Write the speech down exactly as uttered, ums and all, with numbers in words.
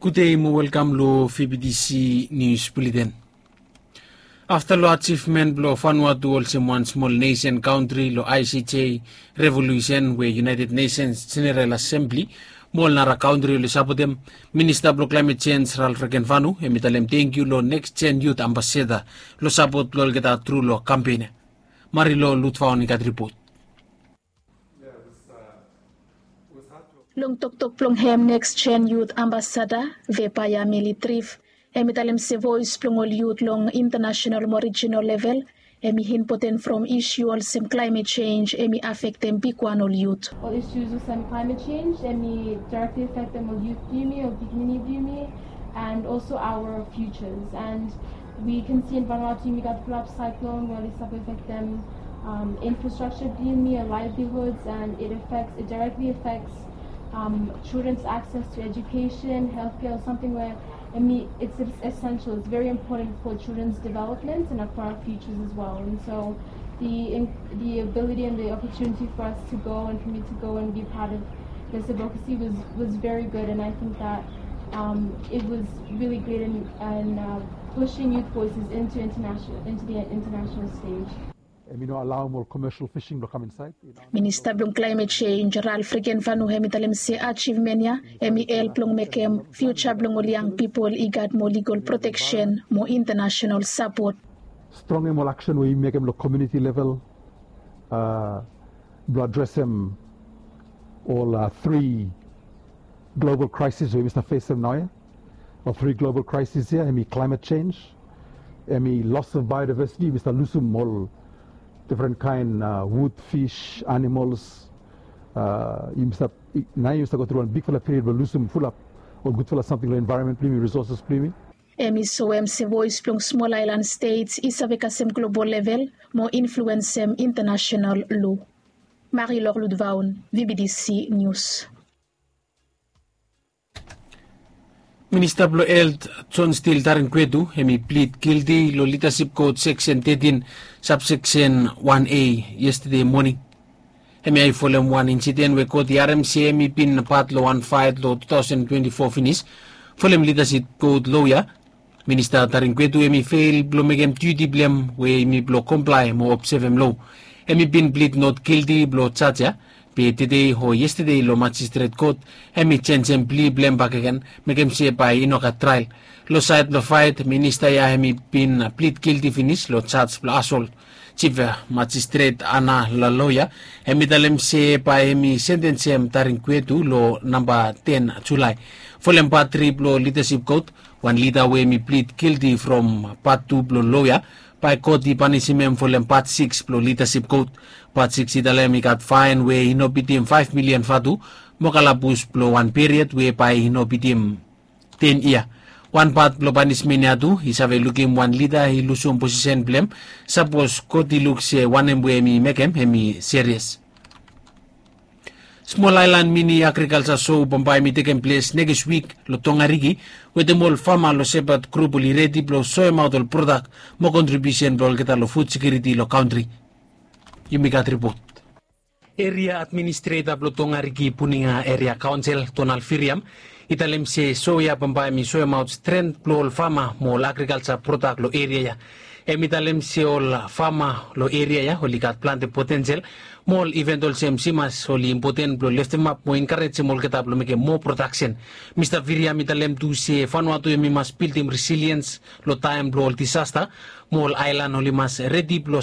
Gudei mo welkam long V B T C News Bulletin. Afta long ajivmen blong Vanuatu olsem wan smol nesen kantri long I C J revolusen we United Nations General Assembly mo ol nara kantri oli sapotem, Minista blong Climate Change Ralph Regenvanu hemi talem tangkiu long Next Gen Youth Ambassador long sapot blong olgeta tru long kampen ya. Marilou Ludvaon i gat ripot. Long toktok blong hem Next Gen Youth Ambassador Vepaya Meli Trif, hemi talem se voes blong ol yut long intanasenal mo rijinal level hemi impoten from isu olsem climate change hemi afektem bigwan ol yut. Ol issues olsem climate change hemi directly affectem ol yut blong yumi, ol pikinini blong yumi, and also our futures. And we can see in Vanuatu yumi gat fulap cyclone we oli save affectem um, infrastructure blong yumi, our livelihoods, and it affects, it directly affects um, children's access to education, healthcare, something where I mean, it's, it's essential. It's very important for children's development and for our futures as well. And so the in- the ability and the opportunity for us to go and for me to go and be part of this advocacy was was very good. And I think that um, it was really great in, in uh, pushing youth voices into international into the international stage. Hemi no alaoem ol commercial fishing blong kam insaed. Minista blong Climate Change Ralph Regenvanu hemi talem se ajivmen ya hemi help long mekem fiuja blong ol yang pipol i gat moa ligal proteksen mo intanasenal sapot. Strongem ol aksen we yumi mekem long komuniti level blong adresem ol tri global kraesis we yumi stap fesem naoia. Ol tri global kraesis ya hemi climate change, hemi loss of biodiversity, yumi stap lusum ol difren kaen wud, fis, animols. Yumi stap, naoia yumi stap go tru wan bigfala period blong lusum fulap ol gudfala samting long envaeronmen blong yumi, risoses blong yumi. Hemi soem se voes blong smol aelan stets i save kasem global level mo influensem intanasenal lo. Marilou Ludvaon, V B T C News. Minista blong Helt John Steele Tarinkuetu hemi plid gilti long lidasip kot seksen tetin, sabseksen wan A yestede moning. Hemia i folem wan insiden we kot i harem se hemi bin pat long wan faet long tu taosen twenti fo finis. Folem lidasip kot loea, Minista Tarinkuetu hemi fel blong mekem diuti blong hem we hemi blong komplae mo obsevem lo. Hemi bin plid not gilti blong jaj ya, be tede o yestede long majistret kot hemi jenjem pli blong hem bakegen, mekem se bae i no gat trael. Long saed blong faet, minista ya hemi bin plid gilti finis long jaj blong asolt. Jif majistret Ana Laloea hemi talem se bae hemi sentensem Tarinkuetu long namba ten Julae. Folem pat tri blong lidasip kot, wan lida we hemi plid gilti from pat tu blong loea, bae kot i panisim hem folem pat sikis blong lidasip kot. Pat sikis i talem i gat faen we i no bitim faef milian vatu mo kalabus blong wan period we bae i no bitim ten yia. Wan pat blong panismen ya tu i save lukim wan lida i lusum posisen blong hem, sapos kot i luk se wanem we hemi mekem hemi serias. Smol aelan mini agrikalja so bambae hemi tekem ples nekis wik long Tongariki, wetem ol fama long Sepat grup oli redi blong soemaot ol prodak mo kontribiusen blong olgeta long fud sekuriti long kantri. Yumi gat ripot. Eria administreta blong Tongariki Puninga Eria Kaonsel, Donald Viriam, i talem se so ya bambae hemi soemaot stren blong ol fama mo ol agrikalja prodak long eria ya. Hemi talem se ol fama long eria ya oli gat plante potensel mo ol iven olsem simas oli impoten blong leftemap mo enkarejem olgeta blong mekem moa prodaksen. Mista Viriam i talem tu se Vanuatu hemi mas bildim resiliens long taem blong ol disasta mo ol aelan oli mas redi blong